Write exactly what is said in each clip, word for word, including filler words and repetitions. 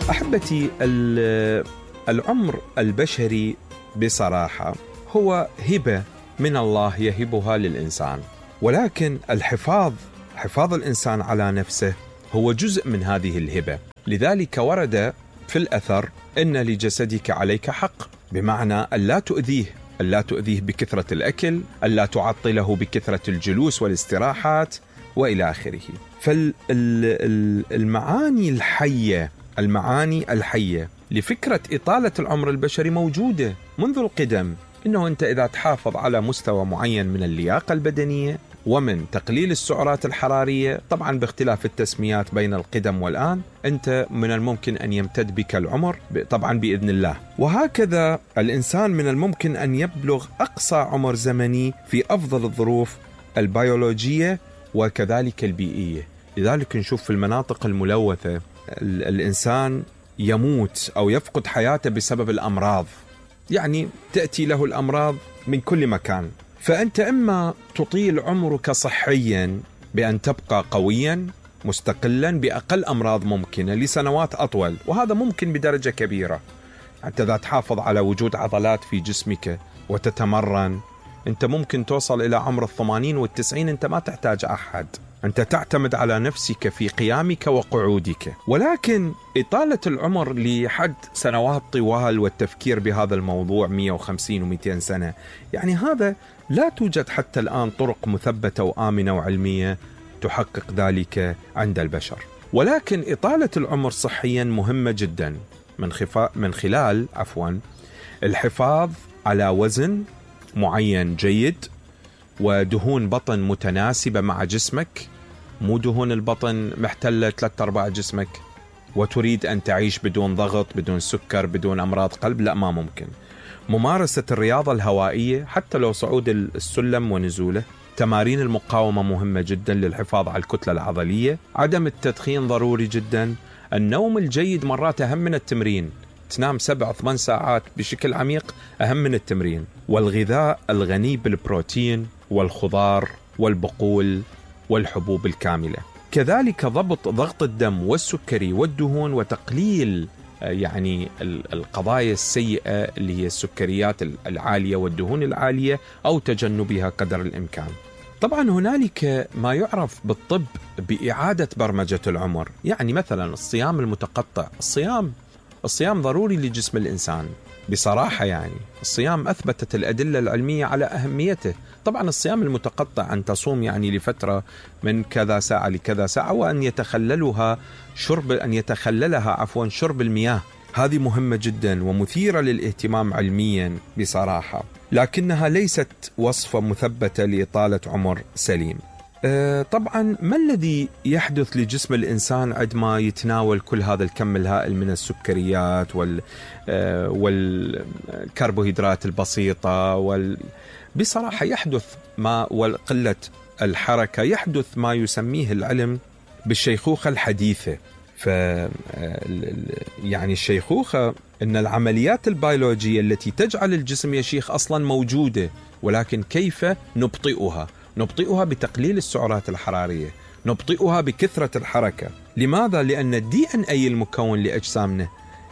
أحبتي، العمر البشري بصراحة هو هبة من الله يهبها للإنسان، ولكن الحفاظ حفاظ الإنسان على نفسه هو جزء من هذه الهبة. لذلك ورد في الأثر إن لجسدك عليك حق، بمعنى ألا تؤذيه ألا تؤذيه بكثرة الأكل، ألا تعطله بكثرة الجلوس والاستراحات وإلى آخره. فالمعاني الحية المعاني الحية لفكرة إطالة العمر البشري موجودة منذ القدم. إنه أنت إذا تحافظ على مستوى معين من اللياقة البدنية ومن تقليل السعرات الحرارية، طبعا باختلاف التسميات بين القدم والآن، أنت من الممكن أن يمتد بك العمر طبعا بإذن الله. وهكذا الإنسان من الممكن أن يبلغ أقصى عمر زمني في أفضل الظروف البيولوجية وكذلك البيئية. لذلك نشوف في المناطق الملوثة الإنسان يموت أو يفقد حياته بسبب الأمراض، يعني تأتي له الأمراض من كل مكان. فأنت إما تطيل عمرك صحيا بأن تبقى قويا مستقلا بأقل أمراض ممكنة لسنوات أطول، وهذا ممكن بدرجة كبيرة. حتى إذا تحافظ على وجود عضلات في جسمك وتتمرن، أنت ممكن توصل إلى عمر الثمانين والتسعين أنت ما تحتاج أحد، أنت تعتمد على نفسك في قيامك وقعودك. ولكن إطالة العمر لحد سنوات طوال والتفكير بهذا الموضوع مئة وخمسين ومئتين سنة، يعني هذا لا توجد حتى الآن طرق مثبتة وآمنة وعلمية تحقق ذلك عند البشر. ولكن إطالة العمر صحيا مهمة جدا من, خفا من خلال عفوا الحفاظ على وزن معين جيد ودهون بطن متناسبة مع جسمك، مو دهون البطن محتلة ثلاثة أرباع جسمك وتريد أن تعيش بدون ضغط بدون سكر بدون أمراض قلب، لا ما ممكن. ممارسة الرياضة الهوائية حتى لو صعود السلم ونزوله، تمارين المقاومة مهمة جدا للحفاظ على الكتلة العضلية، عدم التدخين ضروري جدا، النوم الجيد مرات أهم من التمرين، تنام سبع ثمان ساعات بشكل عميق أهم من التمرين، والغذاء الغني بالبروتين والخضار والبقول والحبوب الكاملة، كذلك ضبط ضغط الدم والسكري والدهون وتقليل يعني القضايا السيئة اللي هي السكريات العالية والدهون العالية أو تجنبها قدر الإمكان. طبعا هنالك ما يعرف بالطب بإعادة برمجة العمر، يعني مثلا الصيام المتقطع. الصيام الصيام ضروري لجسم الإنسان بصراحة، يعني الصيام أثبتت الأدلة العلمية على أهميته. طبعا الصيام المتقطع أن تصوم يعني لفترة من كذا ساعة لكذا ساعة، وأن يتخللها شرب أن يتخللها عفوا شرب المياه، هذه مهمة جدا ومثيرة للاهتمام علميا بصراحة، لكنها ليست وصفة مثبتة لإطالة عمر سليم. طبعا ما الذي يحدث لجسم الإنسان عندما يتناول كل هذا الكم الهائل من السكريات وال والكربوهيدرات البسيطة وال... بصراحة يحدث ما وقلة الحركة، يحدث ما يسميه العلم بالشيخوخة الحديثة. ف يعني الشيخوخة إن العمليات البيولوجية التي تجعل الجسم يشيخ أصلا موجودة، ولكن كيف نبطئها؟ نبطئها بتقليل السعرات الحرارية، نبطئها بكثرة الحركة. لماذا؟ لأن الدي ان اي المكون لأجسامنا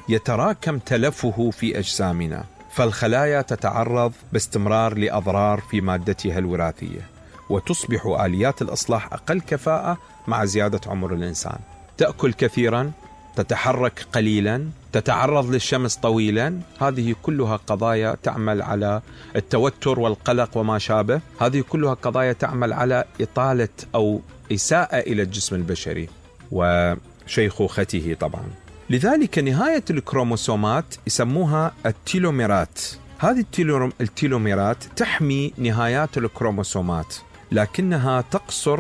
يتراكم تلفه في أجسامنا، فالخلايا تتعرض باستمرار لأضرار في مادتها الوراثية، وتصبح آليات الإصلاح أقل كفاءة مع زيادة عمر الإنسان. تأكل كثيرا، تتحرك قليلا، تتعرض للشمس طويلا، هذه كلها قضايا تعمل على التوتر والقلق وما شابه، هذه كلها قضايا تعمل على إطالة أو إساءة إلى الجسم البشري وشيخوخته طبعا. لذلك نهاية الكروموسومات يسموها التيلوميرات. هذه التيلوميرات تحمي نهايات الكروموسومات، لكنها تقصر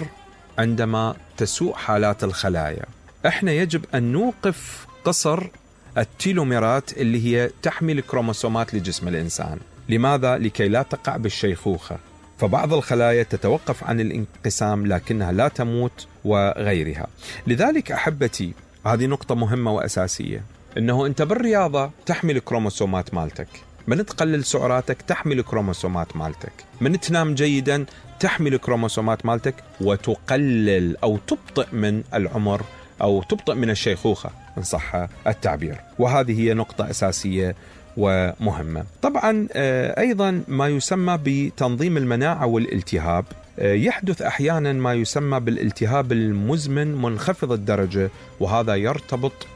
عندما تسوء حالات الخلايا. احنا يجب أن نوقف قصر التيلوميرات اللي هي تحمي الكروموسومات لجسم الإنسان. لماذا؟ لكي لا تقع بالشيخوخة. فبعض الخلايا تتوقف عن الانقسام لكنها لا تموت وغيرها. لذلك أحبتي، هذه نقطة مهمة وأساسية، إنه أنت بالرياضة تحمي الكروموسومات مالتك، من تقلل سعراتك تحمي الكروموسومات مالتك، من تنام جيدا تحمي الكروموسومات مالتك وتقلل أو تبطئ من العمر أو تبطئ من الشيخوخة إن صح التعبير، وهذه هي نقطة أساسية ومهمة. طبعا أيضا ما يسمى بتنظيم المناعة والالتهاب، يحدث أحيانا ما يسمى بالالتهاب المزمن منخفض الدرجة، وهذا يرتبط